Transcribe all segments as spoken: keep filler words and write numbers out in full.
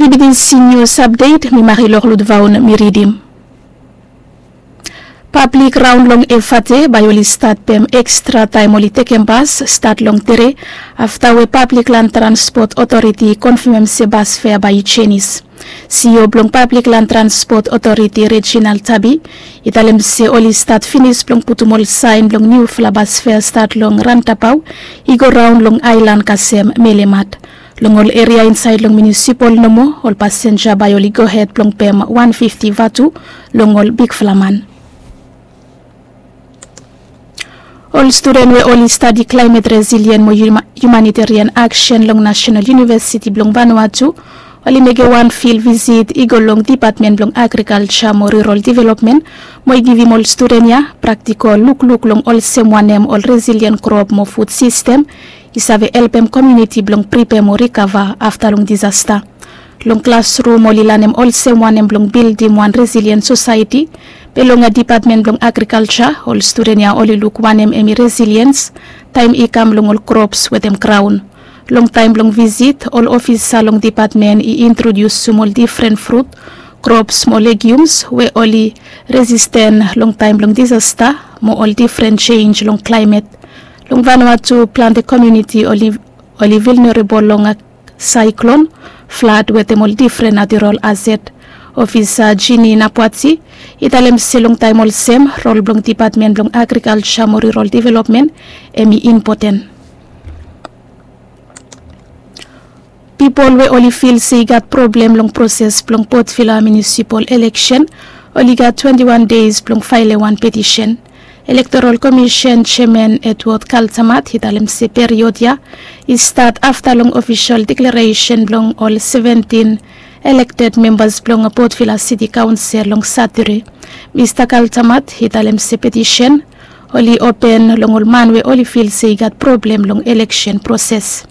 Bibidin si nius apdet mi marilor lutvaun mi ridim. Pablik raon long efate bae oli stat pem ekstra taem oli tekem bas stat long tere, afta we pablik lan transpot otoriti i konfemem se bas fea bae i jenis. Sio blong pablik lan transpot otoriti rejinal tabi i talem se oli stat finis blong putum ol saen blong niufala bas fea stat long rantapao i go raon long aelan kasem melemat. Long ol eria insaed long miunisipol nomo ol pasenja bae oli gohed blong pem wan fifti vatu long ol bigfala man. Ol studen we oli stadi klaemet resilien mo hiumanitarian aksen long nasenal iunivesiti blong vanua tu oli mekem wan fil visit i go long dipatmen blong agrikalja mo rurol developmen mo i givim ol studen ya praktikol lukluk long olsem wanem ol resilien krop mo fud sistem i save helpem komiuniti blong pripea mo rikava afta long disasta. Long klasrum oli lanem olsem wanem blong bildim wan resilien sosaeti. Be long dipatmen blong agrikalja ol studen ya oli luk wanem em i resiliens taem i kam long ol krops wetem graon. Long taem blong visit ol ofisa long dipatmen i introdiusum ol difren frut, krops mo legiums we oli resisten long taem blong disasta mo ol difren jenj long klaemet. Long vanua tu plante komiuniti oli vilnerabol long saeklon, flad wetem ol difren natirol aset. Ofisa jini napwati i talem se long taem olsem rol blong dipatmen blong agrikalja mo rurol developmen em i impoten. Pipol we oli fil se i gat problem long proses blong potvila miunisipol eleksen oli gat twenti wan deis blong faelem wan petisen. Elektorol komisen jeaman edward kaltamat i talem se period ya i stat afta long ofisol deklaresen blong ol seventin elekted membas blong potvila siti kaonsel long satere. Mista kaltamat i talem se petisen oli open long ol man we oli fil se i gat problem long eleksen proses.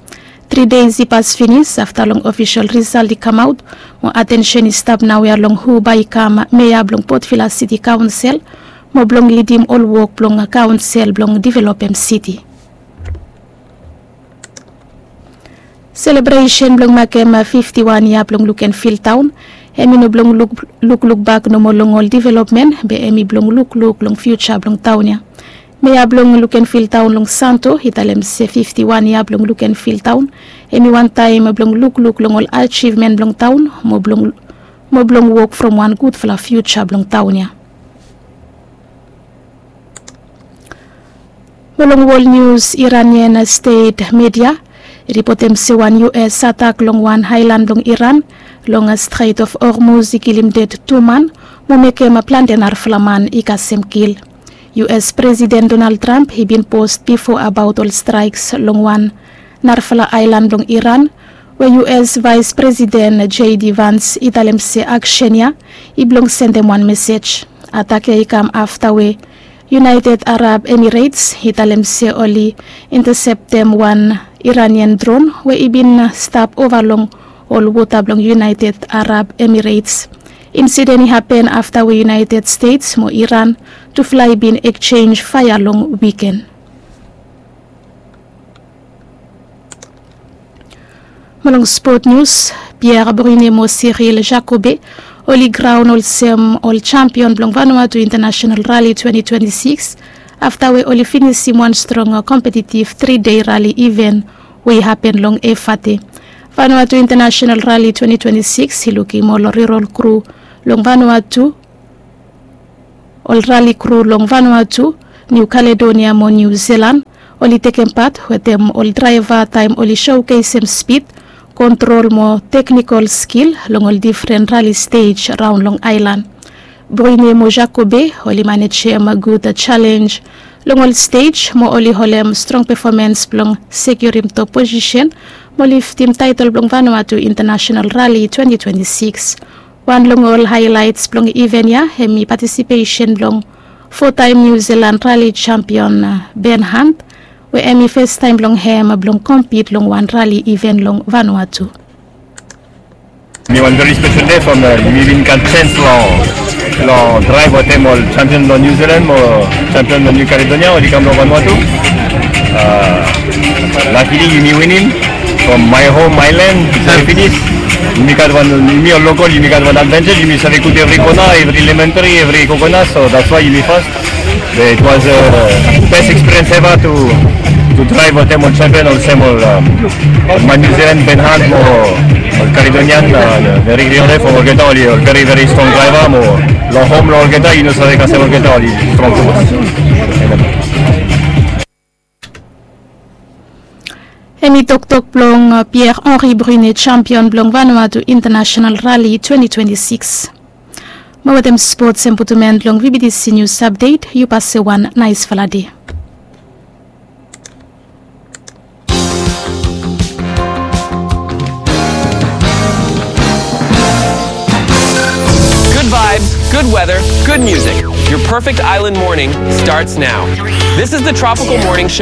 Tri deis i pas finis afta long ofisol risalt i kamaot mo atensen i stap naoia long hu bae i kam mea blong potvila siti kaonsel mo blong lidim ol wok blong kaonsel blong developem siti. Selebresen blong makem fifti wan yia blong lukenfil taon em i no blong lukluk bak nomo long ol developmen be em i blong lukluk long fiuja blong taon ya. Mea blong lukenfil taon long santo i talem se fifti wan yia blong lukenfil taon em i wantaem blong lukluk long ol ajivmen blong taon mo blong wok from wan gudfala fiuja blong taon ya. Mo long wol nius iranian stet media i ripotem se wan us atak long wan aelan blong iran long stret of hormuz i kilim ded tu man mo mekem plante narafala man i kasem kil. Us presiden donald trump i bin post bifo abaot ol straeks long wan narafala aelan blong iran we us vaes presiden j d vans i talem se aksen ya i blong sendem wan mesej. Atak ya i kam afta we united arab emirates i talem se oli inteseptem wan iranian dron we i bin stap ova long ol wota blong united arab emirates. Insiden i hapen afta we united stets mo iran tufala i bin ekjenj faea long wiken. Mo long spot nius, pierre brune mo siril jacobe oli graon olsem ol jampion blong vanuatu intanasenal rali twenti twenti sikis afta we oli finisim wan strong kompetitiv tri dei rali iven we i hapen long efate. Vanuatu intanasenal rali twenti twenti sikis i lukim ol rurol kru long vanuatu ol rali kru long vanuatu, niu kaledonia mo niu zilan oli tekem pat wetem ol draeva taem oli sokesem spid, kontrol mo teknikol skil long ol difren rali stej raon long aelan. Boine mo jakobe oli manejem gud jalenj long ol stej mo oli holem strong pefomens blong sekiurim top posisen mo liftim taetol blong vanuatu intanasenal rali twenti twenti sikis. Wan long ol haelaets blong iven ya hem i patisipesen blong fotaem niu zilan rali jampion ben hant we hem i festaem blong hem blong kompit long wan rali iven long vanuatu. Mi wan veri spesel dei from mi bin gat jens long draev wetem ol jampion blong niu zilan mo jampion blong niu kaledonia oli kam long vanuatu. Lakili yumi winim from mae hom mae len i save finis. Yumi gat wan, yumi ol lokol, yumi gat wan advantage, yumi save kuk evri kona, evri lemon tree, evri coconut, so that's why yumi fast. But it was a best experience ever to to drive olsem ol champion, olsem ol, um, ol man New Zealand, Ben Hunt mo ol Caledonian, uh, Rick Riordan, from olgeta oli ol very, very strong driver mo long home long olgeta, yu no save kasem olgeta oli strong tumas. Hemi toktok blong, uh, Pierre Henri Brunet, champion blong Vanuatu International Rally twenty twenty-six. Mo wetem spots hemi putum en long V B T C News Update, yu pase wan naesfala dei. Good vibes, good weather, good music. Your perfect island morning starts now. This is the Tropical Morning Show.